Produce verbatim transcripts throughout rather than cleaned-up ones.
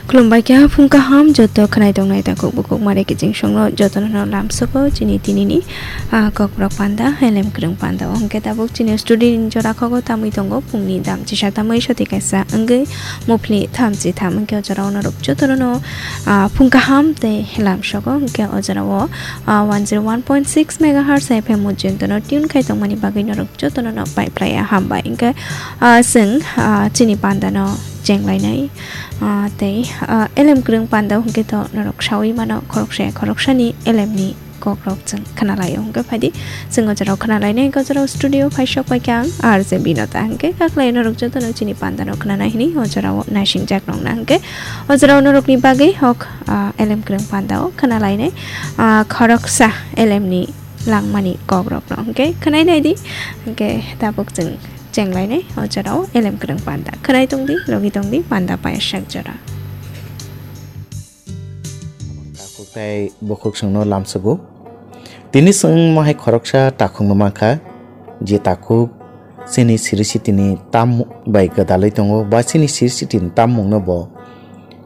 Khulumbai kha phung kaham joto khwnai tongnai takhuk bukhuk mare kiching songno jotono no lamsogo chini tinini, ah, kokborok panda, elem kwrwng panda. O hwnkhe tabuk chini studio ni jora khogo tamwi tongo phungni dam chisa tamwi soti kaisa wngwi muphli thamchi tham hwnkhe o jorao norok jotono no, ah, phung kaham tei lamsogo hwnkhe o jorao, ah, one zero one point six megahertz F M o jotono tune khai tongmani bagwi norok jotono no pai phlai ya hambai hwnkhe, ah, chwng, ah, chini panda no chenglainai. Ah, tei, ah, elem kwrwng panda hwnkhe to norok sawi mano khoroksa ya khoroksani elemni kokrok chwng khwnalaio hwnkhe phaidi chwng o jorao khwnalainai. O jorao studio phai sok pai khe ang R J Binota hwnkhe kaklai norok jotono chini panda no khwnanai hwnwi o jorao naising jak nongna hwnkhe o jorao norokni bagwi hok, ah, elem kwrwng panda o khwnalainai, ah, khoroksa elemni langmani kokrokno hwnkhe khwnai naidi hwnkhe tabuk chwng chenglainai o jorao elem kwrwng panda. Khwnai tongdi, logi tongdi, panda payasak jora. Takhuk tei bukhuk chwngno lamsogo. Tini chwng mohai khoroksa takhukno mankha, je takhuk chini siri sitini tam bai gwdalwi tongo, ba chini siri sitini tammungno bo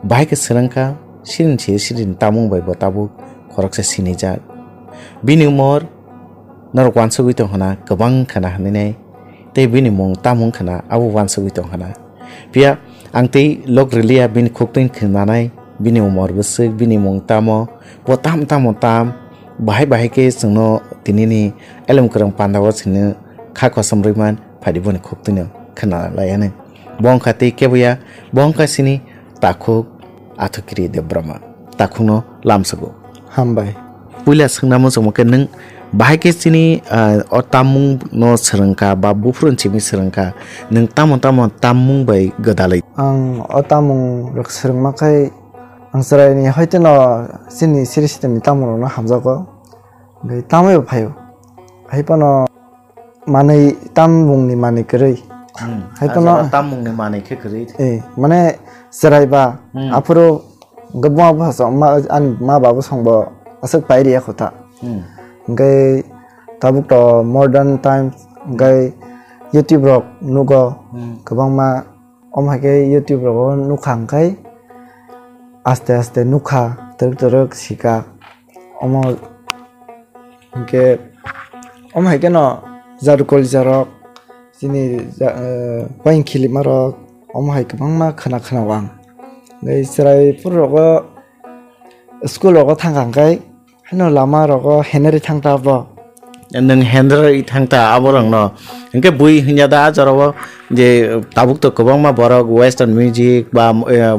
bahai khe swrwngkha, chini siri sitini tammung bai bo tabuk khoroksa sinijak. Bini umor norok uansugwi tong hwna kwbang khwna hwnwi nai, tei bini mung tamo wng khwna abo uansugwi tong hwna. Phiya ang tei lok rwliya bini khuktwini khwnanai, bini umor bwswk, bini mung tamo, bo tam tamo tam, bahai bahai khe chwngno tinini elem kwrwng pandao chwngno kha kosom rwimani phaidi boni khuktwino khwnalaiyanw. Bo wngkha tei keboya, bo wngkha chini takhuk Athukiri Debbarma. Takhukno lamsogo. Hambai. Puila swngna muchungma khe nwng bahai khe chini, ah, o tammung no swrwngkha ba buphuru simi swrwngkha, nwng tamo tamo tammung bai gwdalwi? Ang o tammung rok swrwngma khai ang chwraini hoiteno chini siri sitini tammung rokno hamjago. Hwnkhe tamwi bo phaio. Hai phano manwi tam mungni manwi kwrwi. Hmm. Hai phano tam mungni manwi khe kwrwi. Eh, mane chwrai ba, hmm, aphuru hwnkhe buma bwsa song ma, ani ma babu songbo aswk pai riya kho ta. Hmm. Hwnkhe tabuk to modern times, hwnkhe YouTube rok nugo, hmm, kwbangma. Omo hai khe YouTube rogo nukha hwnkhe aste aste nukha, twrwk twrwk sika. Omo hwnkhe, omo hai kheno jadu kolisa rok, chini ja-, eh, wain khilima rok, omo hai kwbangma khwna khwna o ang. Tei chwrai phuru rogo school rogo thangkha hwnkhe, haino lama rogo heneri thangta bo. Nwng heneri thangta abo rokno. Hwnkhe bui hwnya da ah jorao je tabuk to kwbangma borok western music ba, eh,